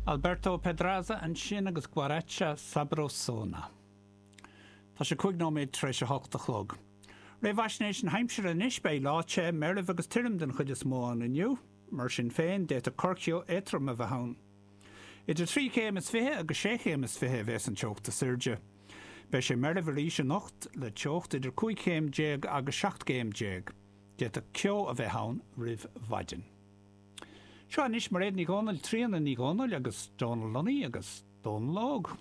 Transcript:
Alberto Pedraza ansin agus Guaracha Sabrosona. Tá sé 5 nóiméad tar éis a hocht a chlog. Réamhaisnéis na haimsire anois, beidh lá te, meirbh agus tirim den chuid is mó ann inniu. Mar sin féin, d'fhéadfadh corrcheo éadtrom a bheith ann. Idir trí chéim is fiche agus sé chéim is fiche a bheas an teocht is airde. Beidh sé meirbh arís anocht, le teocht idir 15 chéim agus 17 gcéim. D'fhéadfadh ceo a bheith ann roimh mhaidin. Seo anois Mairéad Ní Dhomhnaill, Tríona Ní Dhomhnaill agus Dónal Lunny agus Dónal Óg.